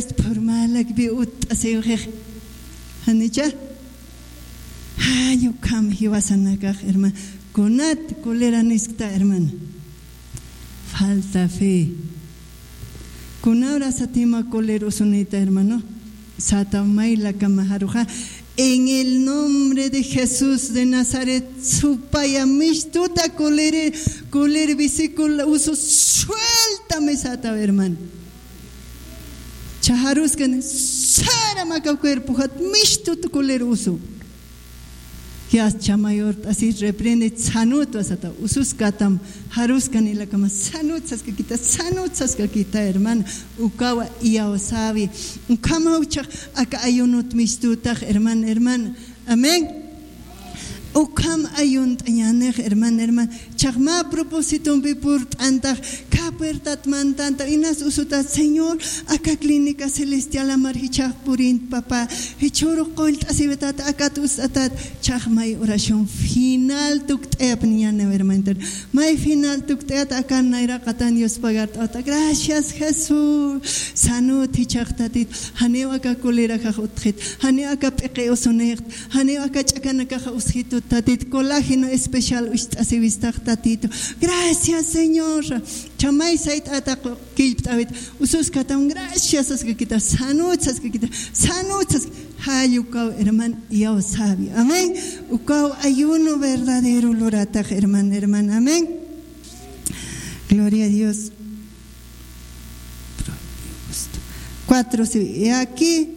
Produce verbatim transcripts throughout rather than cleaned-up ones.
Purmalak bi utt'asiwxix. Janicha? Jay ukham jiwasanakax, hermano. Kunat cólera niskta, hermano. Falta fe. Kunawra satima cólera usunita, hermano. Sata maylakama jaruxa. En el nombre de Jesús de Nazaret, supaya mistuta cólera, cólera vesícula usu, suéltame sata, hermano. Chajaruskan, sara maka cuerpo jat mistuta cólera usu. Yas chamayor t'asi reprende sanut wasata, ususkatam, jaruskan ilakama sanut saskakita, sanut saskakita, hermano. Ukawa iyawsawi. Ukhamaw chax aka ayunut mistutax, hermano, hermano. Amén. Ukham ayunt'añänix, hermano, hermano. Chax mä propósitompi purt'antax, kä puertat mantantax, inas usutat, Señor, aka clínica celestial amar jichhax purint, papá. Jichhürux qullt'asiwitat, akat ust'atat. Chax may oración final tukt'ayapniñäniw, hermanita. May final tukt'ayat, akan nayraqatan Dios pagart'awta. Gracias, Jesús. Sanut jichhax Tatit. Janiw aka cóleraxax utjit. Janiw aka p'iqi usunixta. Janiw aka ch'akanakaxa usjitut Tatit. Colágeno especial ucht'asiwistax Tatitu. Gracias, Señor. Chamay sayt'ata qu-, killpt'awit. Ususkatam gracias saskakita. Sanut saskakita. Sanut sask-, jall ukaw, hermano, iyawsawi. Amén. Ukaw ayuno verdadero luratax, hermano, hermano. Amén. Gloria a Dios. Cuatro, sí. He aquí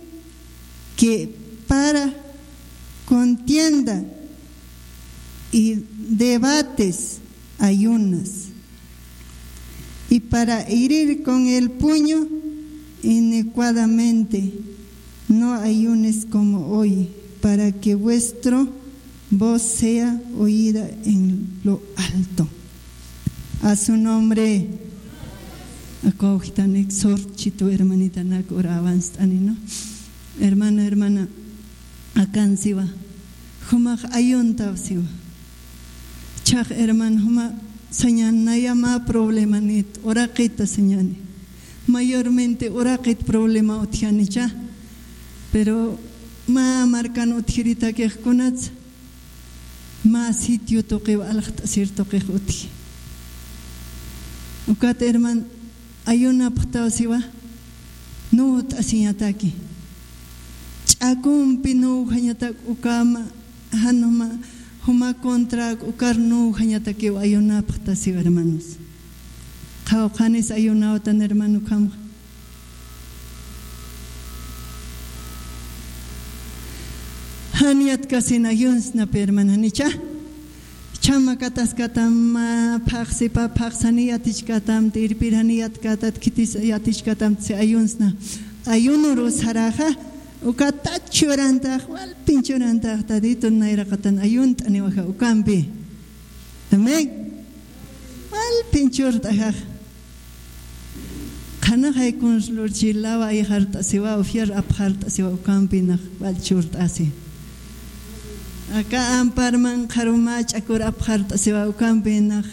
que para contienda y debates ayunas, y para herir con el puño inicuadamente, no ayunes como hoy, para que vuestro voz sea oída en lo alto. A su nombre. Acogitan exhorchito hermanitanak orabanst'ani, ¿no? Hermano, hermana, akan siwa. Jumax ayuntaw siwa. Chax hermano, juma sañan naya mä problemanit, uraqita sañani. Mayormente uraqit problema utjanicha. Pero mä markan utjiritakix kunats. Mä sitio tuqiw aljt'asir tuqix utji. Ukat herman, ayunapxtaw siwa, nuwt'asiñataki. Ch'akumpi nuwjañatak ukama, jan juma, juma contrak ukar nuwjañatakiw ayunapxta siwa, hermanos. Qhawqhanis ayunawtan, hermano, ukhamxa. Jan yatkasin ayunsnapi, hermana, janicha. Chama kataskatam, ah, phaxsipa, phaxsani yatichkatam, tirpirani yatkatat, khitis yatichkatam, si ayunsna. Ayunuru saraxa, uka tachurantaq, walpinchurantaq, Tatitu nayraqatan ayunt'aniwaxa ukampi. Amén. Walpinchurt'axax. Qhanaxay kunslurchi lawa ayxart'asiwa, ufiar apxart'asiwa, ukampi nax walchurt'asi. Aka amparman qharumach'akur apxart'asiwa, ukampi nax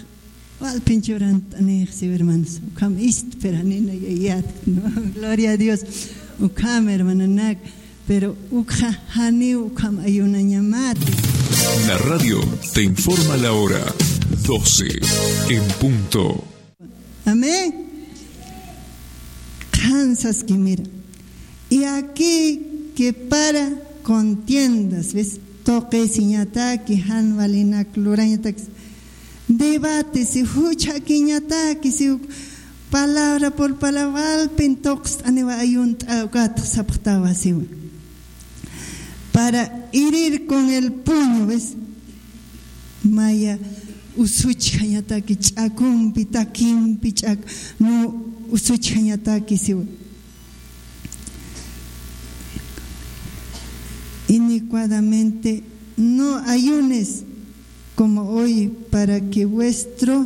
walpinchurant'anix siwa, hermanos. Ukam istpir janina yayat, ¿no? Gloria a Dios. Ukam, hermananak. Pero ukxa janiw ukham ayunañamat. La radio te informa la hora, doce en punto. Amén. Qhan saski, mira. Y aquí que para contiendas, ¿ves? Tuqisiñataki, jan walinak lurañatak. Debate, si juchakiñataki, si palabra por palabra, walpin tuqst'aniwa ayunt'a ukat sapxtawa siwa. Para herir con el puño, ¿ves? Maya usuchjañataki ch'akumpi, takimpi ch'ak, no usuchjañataki siwa. Inicuadamente, no ayunes como hoy, para que vuestro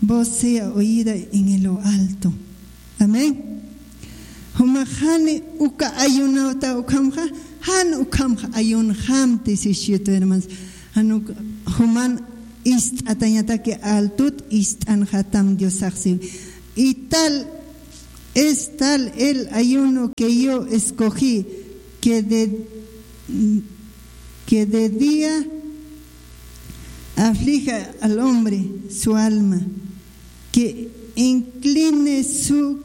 voz sea oída en lo alto. Amén. Juma jani uka ayunawta ukhamxa, jan ukhamxa ayunxamti sisitu, hermanos. Jan uk-, juman ist'atañataki altut ist'anxatam Diosax si. Y tal Es tal el ayuno que yo escogí, que de, que de día aflija al hombre su alma, que incline su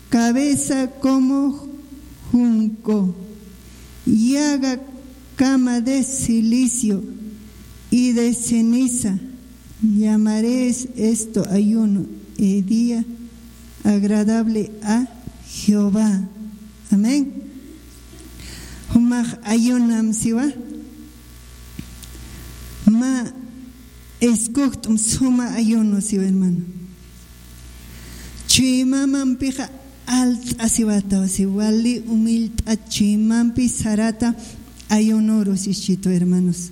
cabeza como junco, y haga cama de cilicio y de ceniza. Llamaréis esto ayuno y día agradable a Jehová. Amén. Jumax ayunam siwa. Ma escogt'um suma ayuno siwa, hermano. Chuymamampixa alt'asiwataw si wali umillt'a chuymampi sarata ayunoru sischitu, hermanos.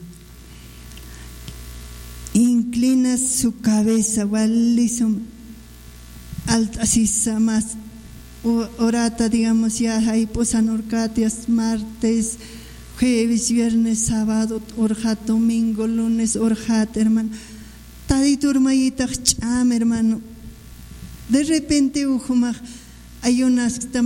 Inclina su cabeza, wali sum alt'asisa mas u- orata, digamos, ya jayp'usan urkatias, martes, jueves, viernes, sábado, urjat, domingo, lunes, urjat, hermano. Taditurmayitax ch'am, hermano. De repente ujumax ayunaskta